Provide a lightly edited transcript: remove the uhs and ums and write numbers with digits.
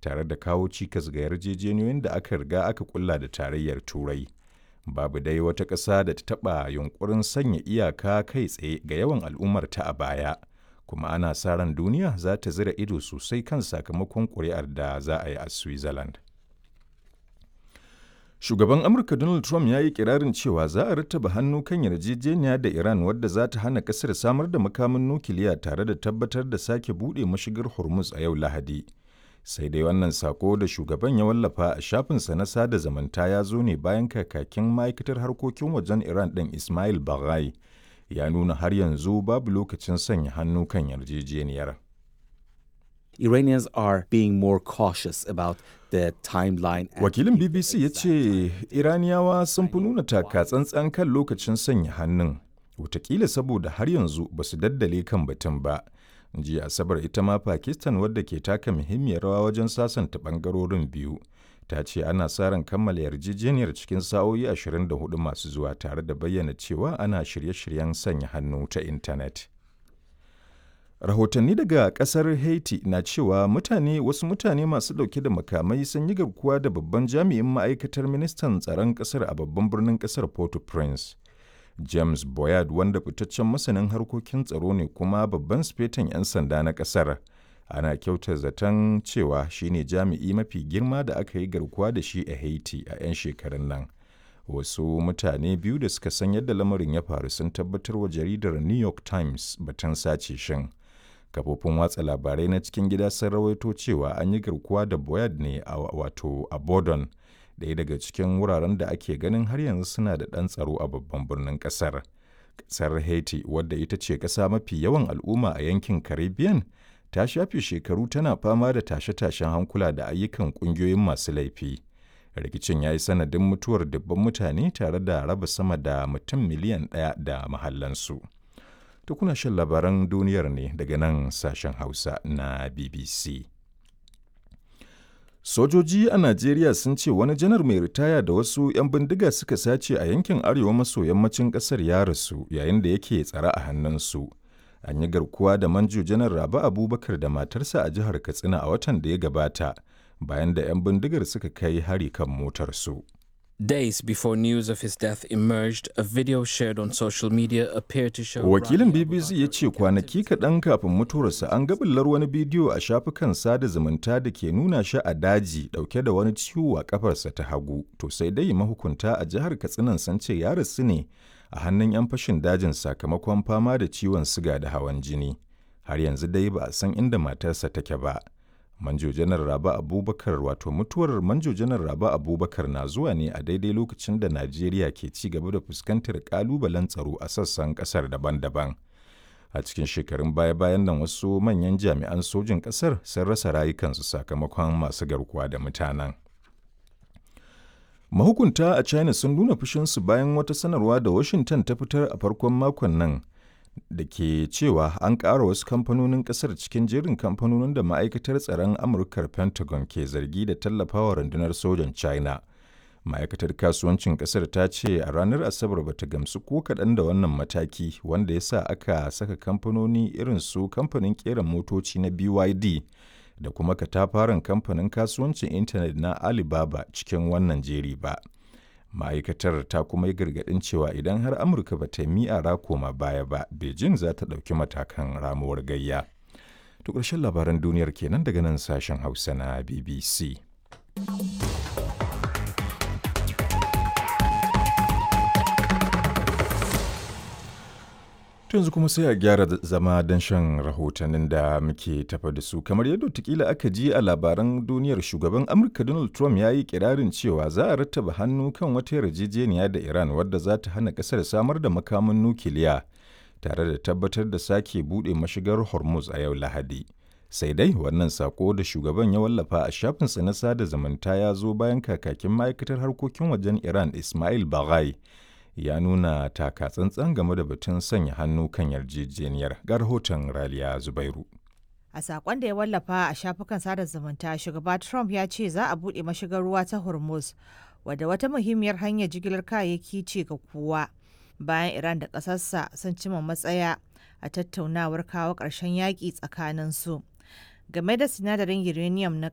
tare da kawo cikas ga yarjejeniyoyin da aka riga aka kulla da Tarayyar Turai. Babu dai wata ƙasa da ta taɓa yunƙurin sanya iyaka kai tsaye ga yawan al'ummarta a baya, kuma ana sa ran duniya za ta zira ido sosai kan sakamakon ƙuri'ar da za a yi a Switzerland. Shugaban Amurka Donald Trump ya yi kirarin cewa za a rattaba hannu kan yarjejeniya da Iran wadda za ta hana kasar samar da makamin nukiliya tare da tabbatar da sake buɗe mashigar Hormuz a yau Lahadi. Sai dai wannan sako da shugaban ya wallafa a shafinsa na sada zumunta ya zo ne bayan kakakin ma'aikatar harkokin wajen Iran ɗin Ismail Baghai ya nuna har yanzu babu lokacin sanya hannu kan yarjejeniyar. Iranians are being more cautious about the timeline. Wakilin BBC ya ce Iraniyawa sun fi nuna taka tsantsan kan lokacin sanya hannun, watakila saboda har yanzu ba su daddale kan batun ba. Jiya Asabar ita ma Pakistan wadda ke taka muhimmiyar rawa wajen sasanta bangarorin biyu. Ta ce ana sa ran kammala yarjejeniyar cikin sa'o'i 24 masu zuwa tare da bayyana cewa ana shirye-shiryen sanya hannu ta intanet. Rahotanni daga kasar Haiti na cewa mutane wasu mutane masu dauke da makamai sun yi garkuwa da babban jami'in ma'aikatar ministan tsaron kasar a babban birnin kasar Port-au-Prince. James Boyard wanda fitaccen masanin harkokin tsaro ne kuma babban sifetan 'yan sanda na kasar. Ana kyautar zaton cewa shine jami'i mafi girma da aka yi garkuwa da shi a Haiti a 'yan shekarun nan. Wasu mutane biyu da suka san yadda lamarin ya faru sun tabbatar wa jaridar New York Times batun sace shin. Kafofin watsa labarai na cikin gida sun rawaito cewa an yi garkuwa da Boyard ne a wato a Bordon, ɗaya daga cikin wuraren da ake ganin har yanzu suna da ɗan tsaro a babban birnin ƙasar. Ƙasar Haiti, wadda ita ce ƙasa mafi yawan al'umma a yankin Caribbean, ta shafe shekaru tana fama da tashe-tashen hankula da ayyukan ƙungiyoyin masu laifi. Rikicin ya yi sanadin mutuwar dubban mutane tare da raba sama da mutum miliyan 1 da mahallansu. To kuna shan labaran duniyar ne daga nan sashen Hausa na BBC. Sojoji a Najeriya sun ce wani janar mai ritaya da wasu 'yan bindiga suka sace a yankin arewa maso yammacin ƙasar ya rasu yayin da yake tsare a hannunsu. An yi garkuwa da manjo janar Rabi Abubakar da matarsa a jihar Katsina a watan da ya gabata bayan da 'yan bindigar suka kai hari kan motarsu. Days before news of his death emerged, a video shared on social media appeared to show. Wakilin BBC ya ce kwanaki kaɗan kafin mutuwarsa an ga bullar wani bidiyo a shafukan sada zumunta da ke nuna shi a daji ɗauke da wani ciwo a ƙafarsa ta hagu. To sai dai mahukunta a jihar Katsinan sun ce ya rasu ne a hannun 'yan fashin dajin sakamakon fama da ciwon siga da hawan jini. Har yanzu dai ba a san inda matarsa take ba. Manjo Janar Rabi Abubakar wato mutuwar Manjo Janar Rabi Abubakar na zuwa ne a daidai lokacin da Najeriya ke ci gaba da fuskantar kalubalen tsaro a sassan kasar daban-daban. A cikin shekarun baya-bayan nan wasu manyan jami'an sojin kasar sun rasa rayukansu sakamakon masu garkuwa da mutanen. Mahukunta a China sun nuna fushinsu bayan wata sanarwa da Washington ta fitar a farkon makon nan da ke cewa an ƙara wasu kamfanonin ƙasar cikin jerin kamfanonin da ma'aikatar tsaron Amurkar Pentagon ke zargi da tallafawa rundunar sojan China. Ma'aikatar kasuwancin ƙasar ta ce a ranar Asabar ba ta gamsu ko kaɗan da wannan mataki wanda ya sa aka saka kamfanoni irin su kamfanin ƙera motoci na BYD da kuma katafaren kamfanin kasuwancin intanet na Alibaba cikin wannan jeri ba. Ma'aikatar ta kuma yi gargaɗin cewa idan har Amurka ba ta mi'ara koma baya ba, Beijing za ta ɗauki matakan ramuwar gayya. To ƙarshen labaran duniyar kenan daga nan sashen Hausa na BBC. Yanzu kuma sai a gyara zama don shan rahotannin da muke tafa da su. Kamar yadda watakila aka ji a labaran duniyar, shugaban Amurka Donald Trump ya yi kirarin cewa za a rattaba hannu kan wata yarjejeniya da Iran wadda za ta hana kasar samar da makamin nukiliya tare da tabbatar da sake buɗe mashigar Hormuz a yau Lahadi. Sai dai wannan sako da shugaban ya wallafa a shafinsa na sada zumunta ya zo bayan kakakin ma'aikatar harkokin wajen Iran Ismail Baghai ya nuna taka tsantsan game da batun sanya hannu kan yarjejeniyar. Ga rahoton Raliya Zubairu. A sakon da ya wallafa a shafukan sada zumunta, shugaba Trump ya ce za a buɗe mashigar ruwa ta Hormuz, wadda wata muhimmiyar hanyar jigilar kayayyaki ce ga kowa. Bayan Iran da ƙasarsa sun cima matsaya a tattaunawar kawo ƙarshen yaƙi tsakaninsu. Game da sinadarin uranium na